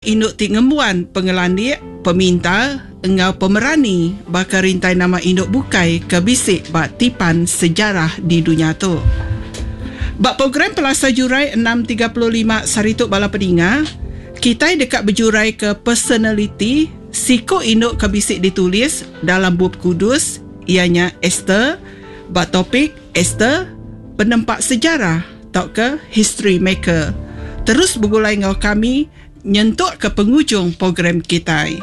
Indu ti ngembuan pengelandik, pemintar enggau pemerani baka rintai nama indu bukai ke bisi ba tipan sejarah di dunya tu. Ba program Pelasar Jurai 6:35 sehari tu bala peninga, kitai deka bejuraika personaliti siku indu ke bisi ditulis dalam Bup Kudus iya nya Ester ba topik Ester, Penempa Sejarah tauka History Maker. Terus begulai enggau kami nyentuk ke pengujung program kitai.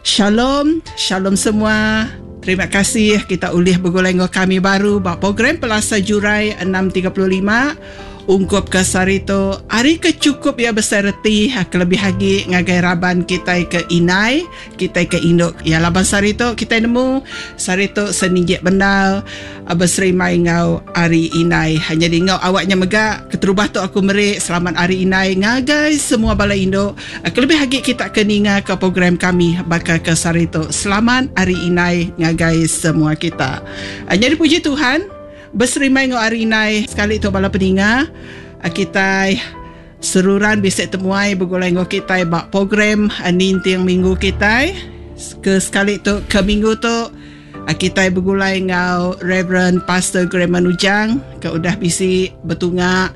Shalom, shalom semua. Terima kasih kita ulih begulai enggau kami baru ba program Pelasar Jurai 6:35 ungkup ke sehari tu. Hari ke chukup iya besai reti kelebih agi ngagai raban kitai ke indai, kitai ke indu. Ya laban sehari tu kitai nemu sehari tu seninjik bendar beserimbai enggau Hari Indai. Nyadi enggau awak nya mega keterubah tu aku meri selamat Hari Indai ngagai semua bala indu kelebih agi kita ke ninga ke program kami baka ke sehari tu. Selamat Hari Indai ngagai semua kita. Nyadi puji Tuhan beserimbai enggau Hari Indai sekali tu bala peninga kitai seruran bisi temuai begulai enggau kitai ba program ninting minggu kitai. Ke sekali tu ke minggu tu Kitai begulai enggau Reverend Pastor Graham Ujang ke udah bisi betunga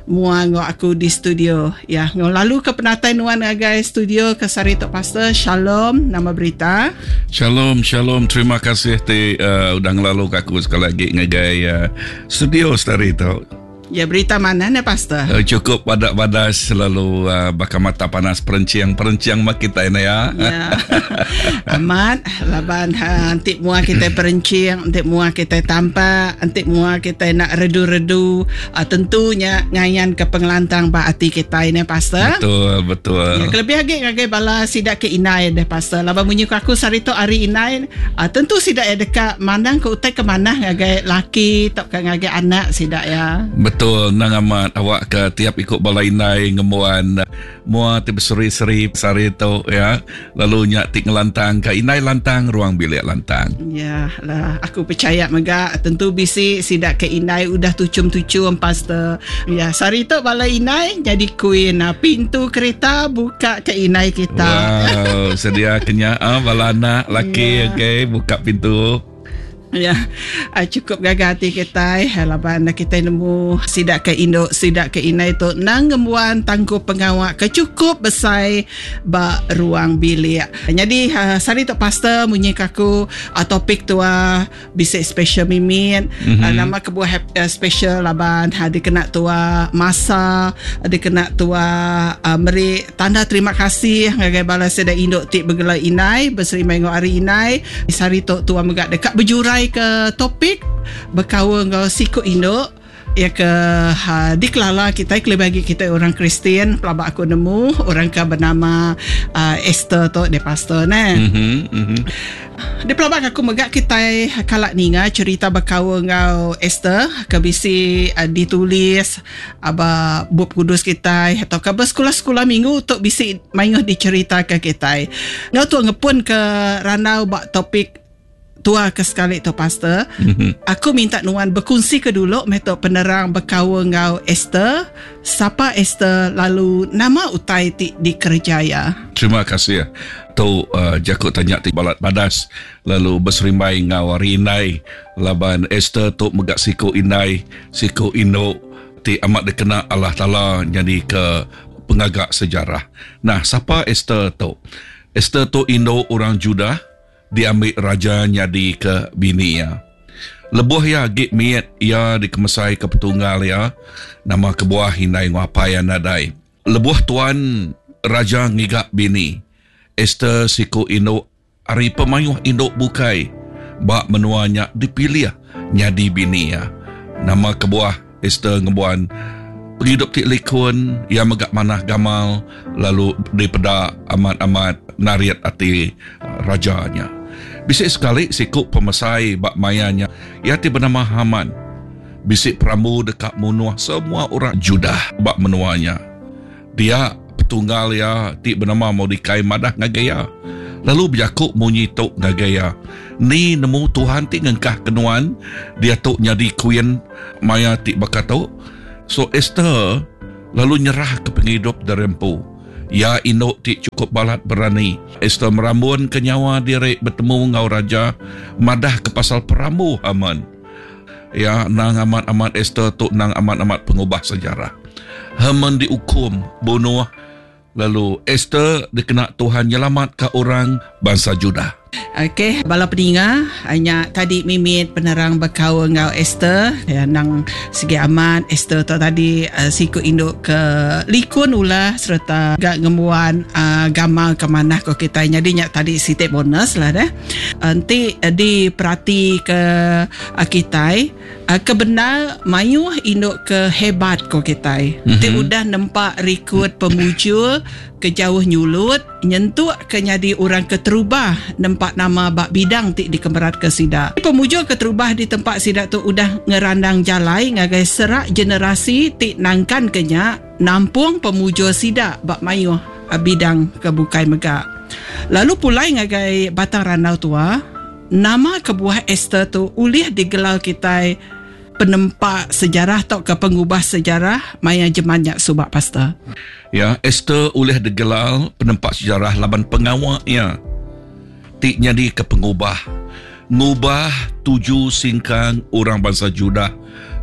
mua enggau aku di studio. Ya, enggau lalu ke penatai nuan ngagai studio ke sehari tu Pastor. Shalom, nama berita? Shalom, shalom. Terima kasih ti uh, udah ngelalu ke aku sekali lagi ngagai uh, studio sehari tu. Ya berita manah ne pastor. Eh, cukup padak badas selalu uh, baka mata panas perencing perencing mah kita ini ya. Ya. Amat laban ha, enti mua kita perencing, enti mua kita tampak, enti mua kita nak redu-redu, uh, tentunya ngayan ke pengelantang ba ati kita ini pastor. Betul, betul. Ya, kelebih lagi ngagai bala sida ke indai deh pastor. Laban munyi ku aku sehari tu hari indai, uh, tentu sida ya deka mandang ke utai ke manah ngagai laki tauka ngagai anak sida iya. Betul endang amat awak ke tiap iku bala indai ngembuan mua ti beseri-seri sehari tu ya lalu nya ti ngelantang ka indai lantang ruang bilik lantang. Ya lah aku pechaya mega tentu bisi sida ke indai udah tuchum-tuchum pastor. Ya sehari tu bala indai jadi queen pintu kereta buka ke indai kita. Wow sedia ke nya bala anak laki ya. okey buka pintu. Ya, ah, cukup gaga ati kitai eh, laban kitai nemu sida ke indu, sida ke indai tu nang ngembuan tangkup pengawa ke cukup besai ba ruang bilik. Nyadi ah, sehari tu pastor munyi ke aku ah, topik tua bisi special mimit. Mm-hmm. Nama kebuah special laban dikena tua masa, dikena tua meri tanda terima kasih ngagai bala sida indu ti begela indai beserimbai enggau hari indai. Sehari tu tua mega deka bejurai ke topik bekaul enggau siku indu iya ke ha, dikelala kitai kelebih agi kitai orang Kristian pelaba aku nemu orang ke benama uh, Esther tu dia pastor ne. Mm-hmm, mm-hmm. Dipelaba aku mega kitai kala ninga cerita bekaul enggau Esther ke bisi uh, ditulis Aba Bup Kudus kitai atau ka ba sekula-sekula minggu tu bisi mayuh diceritaka kitai. Enggau tu ngepun ke randau ba topik tua ke sekali tu pastor. Mm-hmm. Aku minta nuan bekunsi ke dulu meh tu penerang bekaul enggau Esther. Sapa Esther lalu nama utai ti dikereja iya? Terima kasih. Tu uh, jaku tanya ti balat badas lalu beserimbai enggau hari indai Laban Ester tu mega siku indai, siku indu ti amat dikena Allah Taala nyadika pengaga sejarah. Nah, sapa Ester tu? Ester tu indu orang Judah diambi raja nyadika bini iya. Lebuh iya agi mit, iya dikemesaika petunggal iya, nama kebuah indai enggau apai iya nadai. Lebuh tuan raja ngiga bini, Ester siku indu Ari pemayuh indu bukai ba menua nya dipilih nyadi bini iya. Nama kebuah Ester ngembuan pengidup ti likun, iya mega manah gamal lalu dipeda amat-amat narit ati raja nya. Bisi sekali siku pemesai ba maya nya, iya ti benama Haman, bisi perambu deka munuh semua orang Judah ba menua nya. Dia, petunggal iya ti benama Mordikai madah ngagai iya, lalu bejaku munyi tu ngagai iya, Ni nemu Tuhan ti ngengkahka nuan diatu nyadi kuin maya ti baka tu? So Ester lalu nyerahka pengidup diri empu. Iya indu ti chukup balat berani. Ester merambunka nyawa diri betemu enggau raja madahka pasal perambu Haman. Iya endang amat-amat Ester tu endang amat-amat pengubah sejarah. Haman diukum bunuh lalu Ester dikena Tuhan nyelamatka orang bansa Judah. Okey, bala peninga, nya tadi mimit penerang bekaul enggau Ester. Ya, nang sigi amat Ester tu tadi eh, siku indu ke likun ulah sereta ga ngembuan uh, gamal ke manah ko kitai. Nyadi nya tadi siti bonus lah deh. Enti diperati ke uh, kitai uh, ke bendar mayuh indu ke hebat ko kitai. Mm-hmm. Ti udah nempa rekod pemujur ke jauh nyulut nyentuk ke nyadi orang keterubah nempa nama ba bidang ti dikemeratka sida. Pemujur keterubah ditempa sida tu udah ngerandang jalai ngagai serak generasi ti nangkanka nya nampung pemujur sida ba mayuh bidang ke bukai mega. Lalu pulai ngagai batang randau tua, nama kebuah Ester tu ulih digelar kitai penempa sejarah tauka pengubah sejarah maya jeman nya suba pastor? Ya, Ester ulih digelar penempa sejarah laban pengawa iya ti nyadika pengubah ngubah tuju singkang orang bansa Judah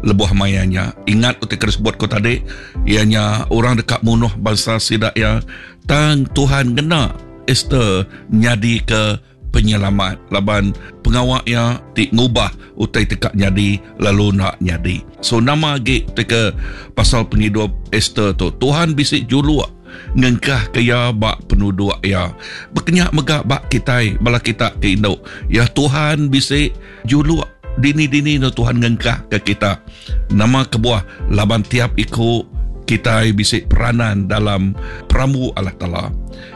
lebuh maya nya. Ingat utai ke disebut ku tadi, iya nya orang deka munuh bansa sida iya, tang Tuhan ngena Ester nyadika penyelamat laban pengawa iya ti ngubah utai ti ka nyadi lalu enda nyadi. So nama agi ti ke pasal pengidup Ester tu? Tuhan bisi juluk ngengkahka iya ba penuduk iya. Bekenya mega ba kitai bala kita ke indu. Ya Tuhan bisi juluk dini-dini enda Tuhan ngengkahka kita. Nama kebuah laban tiap iku kitai bisi peranan dalam perambu Allah Taala.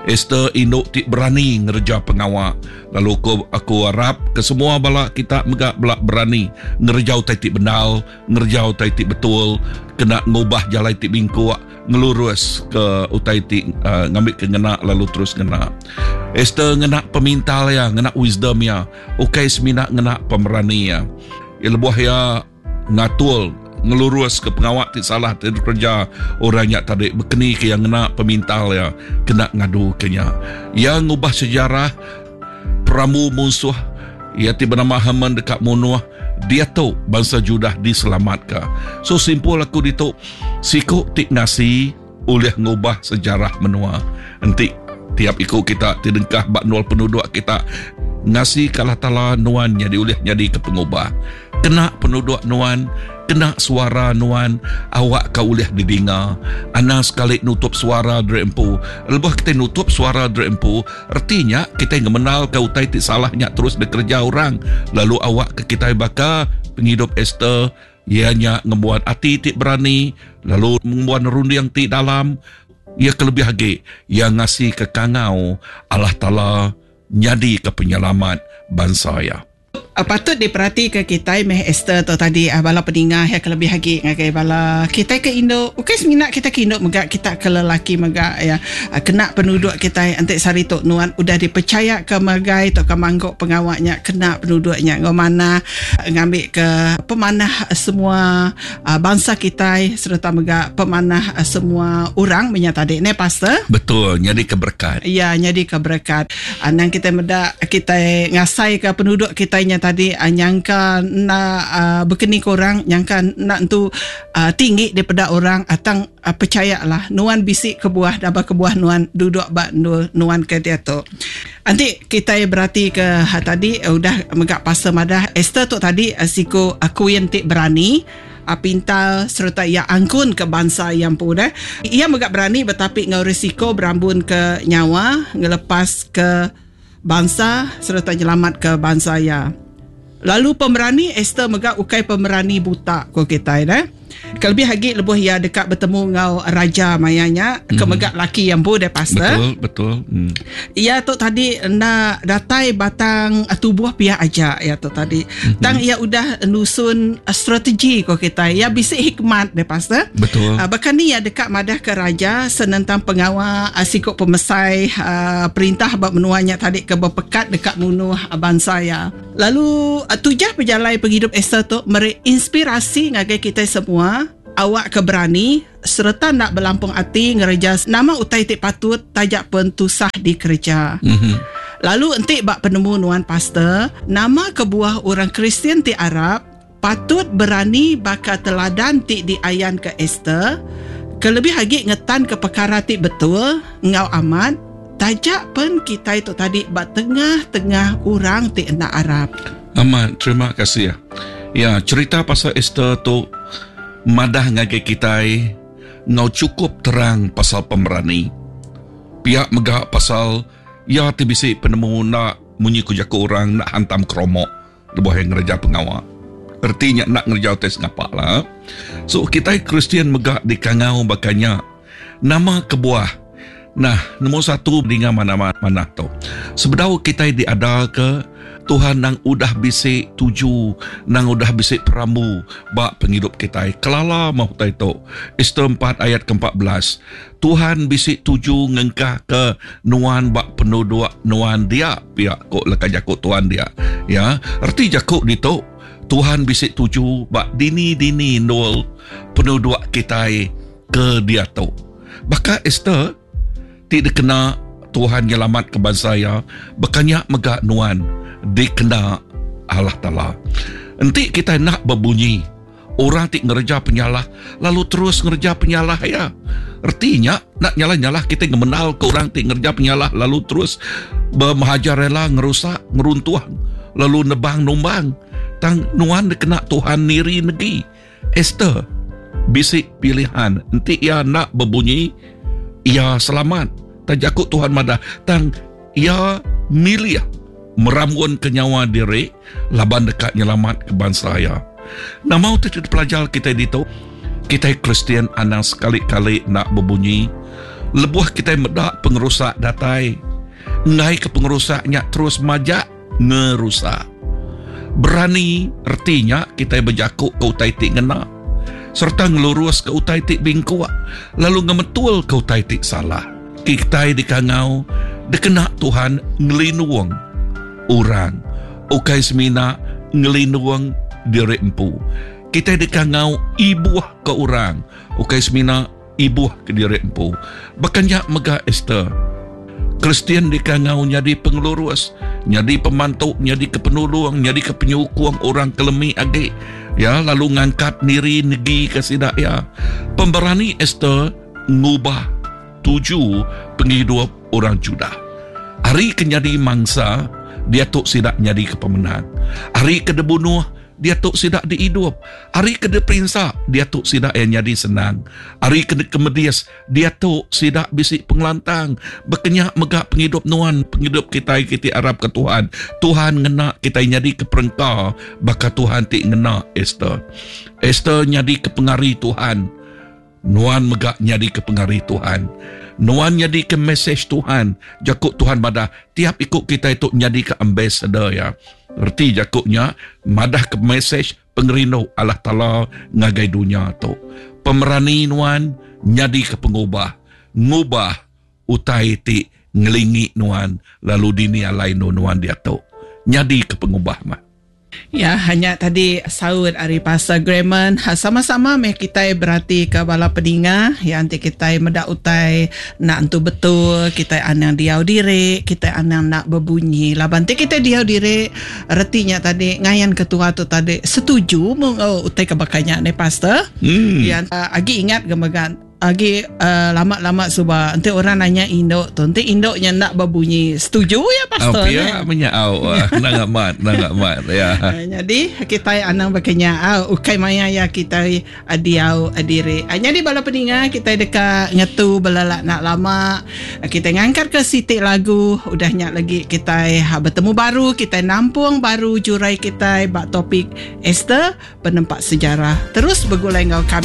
Ester indu ti berani ngereja pengawa lalu aku, aku arap ke semua bala kita mega bela berani ngereja utai ti bendar, ngereja utai ti betul, kena ngubah jalai ti bingkuk, ngelurus ke utai ti uh, ngambi ke ngena lalu terus ngena. Ester ngena pemintal iya, ngena wisdom iya, ukai semina ngena pemerani iya. Lebuh iya ngatul ngelurus ke pengawa ti salah ti dikereja orang nya tadi bekeni ke iya ngena pemintal iya kena ngadu ke nya. Iya ngubah sejarah perambu munsuh iya ti benama Haman deka munuh diatu bansa Judah diselamatka. So simpul aku ditu siku ti ngasi ulih ngubah sejarah menua. Enti tiap iku kita ti dengkah ba nul penuduk kita ngasi ke Allah Taala nuan nyadi ulih nyadi ke pengubah. Kena penuduk nuan, kena suara nuan awak ka ulih didinga. Anang sekali nutup suara diri empu. Lebuh kitai nutup suara diri empu, reti nya kitai ngemenalka utai ti salah nya terus dikereja orang lalu awak ke kitai baka pengidup Ester Iya nya ngembuan ati ti berani lalu ngembuan runding ti dalam. Iya kelebih agi, iya ngasika kangau Allah Taala nyadika penyelamat bansa iya. Patut diperatika kitai meh Ester tu tadi bala peninga iya kelebih agi ngagai bala kitai ke indu ukai semina kitai ke indu mega kita ke lelaki mega iya kena penuduk kitai enti sehari tu nuan udah dipechayaka megai tauka mangku pengawa nya kena penuduk nya enggau manah. Ngambika pemanah semua bansa kitai sereta mega pemanah semua orang menya tadi neh pastor. Betul, nyadika berekat. Ya, nyadika berekat. Anang kitai meda kitai ngasaika penuduk kitai nya tadi nyangka enda bekeni ke orang, nyangka enda entu tinggi dipeda orang tang Pechayalah, nuan bisi kebuah daba kebuah nuan duduk ba endur nuan ke diatu. Enti kitai beratika tadi udah mega pastor madah Esther tu tadi siku queen ti berani, pintar sereta iya angkun ke bansa iya empu deh. Iya mega berani betapi enggau risiko berambun ke nyawa ngelepas ke bansa sereta nyelamat ke bansa iya. Lalu pemerani Ester mega ukai pemerani buta ku kitai deh. Kelebih agi lebuh iya deka betemu enggau raja maya nya ke mhm. mega laki iya empu deh pastor. Betul, betul. Hmm. Iya tu tadi enda datai batang tubuh pia aja iya tu tadi. Mm-hmm. Tang iya udah nusun strategi ku kitai. Iya bisi hikmat deh pastor. Betul. Uh, baka ni iya deka madah ke raja senentang pengawa uh, siku pemesai uh, perintah ba menua nya tadi ke bepekat deka munuh uh, bansa iya. Lalu tujah pejalai pengidup Ester tu meri inspirasi ngagai kitai semua. Awakka berani sereta enda belampung ati ngereja nama utai ti patut taja pen tusah dikereja. Lalu enti ba penemu nuan pastor, nama kebuah orang Kristian ti arap patut berani baka teladan ti diayanka Ester, kelebih agi ngetanka pekara ti betul enggau amat taja pen kitai tu tadi ba tengah-tengah orang ti enda arap? Amat, terima kasih. Ya, cherita pasal Ester tu madah ngagai kitai enggau chukup terang pasal pemerani. Pia mega pasal iya ti bisi penemu enda munyi ku jaku orang enda hantam keromok lebuh iya ngereja pengawa. Reti nya enda ngereja utai sengapa lah. So kitai Kristian mega dikangau baka nya. Nama kebuah? Nah, nombor satu dinga manah-manah tu. Sebedau kitai diadaka, Tuhan nang udah bisi tuju, nang udah bisi perambu ba pengidup kitai. Kelala meh utai tu. Ester empat ayat ke-14. Tuhan bisi tuju ngengkahka nuan ba penuduk nuan dia, pia ku leka jaku Tuhan dia. Ya, reti jaku ditu, Tuhan bisi tuju ba dini-dini endur penuduk kitai ke diatu. Baka Ester ti dikena Tuhan nyelamatka bansa iya, baka nya mega nuan dikena Allah Taala. Enti kitai enda bebunyi, orang ti ngereja penyalah lalu terus ngereja penyalah iya. Reti nya, enda nyalah-nyalah kitai ngemenalka orang ti ngereja penyalah lalu terus bemahajarela ngerusak, ngeruntuh lalu nebang numbang. Tang nuan dikena Tuhan niri negi. Ester bisi pilihan enti iya enda bebunyi, iya selamat. Tang jaku Tuhan madah, tang iya milih meramunka nyawa diri laban deka nyelamatka bansa iya. Nama utai ti dipelajar kitai ditu? Kitai Kristian anang sekali-kali enda bebunyi lebuh kitai meda pengerusak datai. Enggaika pengerusak nya terus majak ngerusak. Berani reti nya kitai bejaku ke utai ti ngena sereta ngeluruska utai ti bingkuk lalu ngemetulka utai ti salah. Kitai dikangau dikena Tuhan ngelindung orang ukai semina ngelindung diri empu. Kitai dikangau ibuh ke orang ukai semina ibuh ke diri empu. Baka nya mega Ester. Kristian dikangau nyadi pengelurus, nyadi pemantu, nyadi ke penulung, nyadi ke penyukung orang ke lemi agi. Ya, lalu ngangkat niri negi ke sida iya. Pemberani Ester ngubah tuju pengidup orang Judah. Ari ke nyadi mangsa, diatu sida nyadi ke pemenang. Ari ke dibunuh, Diatu sida diidup. Ari ke diperinsa, diatu sida iya nyadi senang. Ari ke dikemedis, diatu sida bisi pengelantang. Bekenya mega pengidup nuan, pengidup kitai ke ti arapka Tuhan. Tuhan ngena kitai nyadika perengka baka Tuhan ti ngena Ester. Ester nyadika pengari Tuhan. Nuan mega nyadika pengari Tuhan. Nuan nyadika mesej Tuhan. Jaku Tuhan madah, tiap iku kitai tu nyadika ambassador Iya. Reti jaku nya, madahka mesej pengerindu Allah Taala ngagai dunya tu. Pemerani nuan nyadika pengubah, ngubah utai ti ngelingi nuan lalu dini alai endur nuan diatu. Nyadika pengubah meh. Ya, nya tadi saut ari Pastor Graham. Ha, sama-sama meh kitai beratika bala peninga ya enti kitai meda utai enda entu betul, kitai anang diau diri, kitai anang enda bebunyi. Laban enti kitai diau diri, reti nya tadi ngayan ketua tu tadi setuju mung enggau utai ke baka nya neh Pastor. Hmm. Ya, agi ingat ga mega Agi lama-lama suba enti orang nanya indu tu enti indu nya enda bebunyi setuju ya pastor ne. Pia menya au nang amat nang amat ya. Nyadi kitai anang baka nya au ukai maya ya kitai diau diri. Nyadi bala peninga kitai deka ngetu belelak enda lama kitai ngangkat ke siti lagu udah nya lagi kitai betemu baru kitai nampung baru jurai kitai ba topik Esther penempa sejarah terus begulai enggau kami.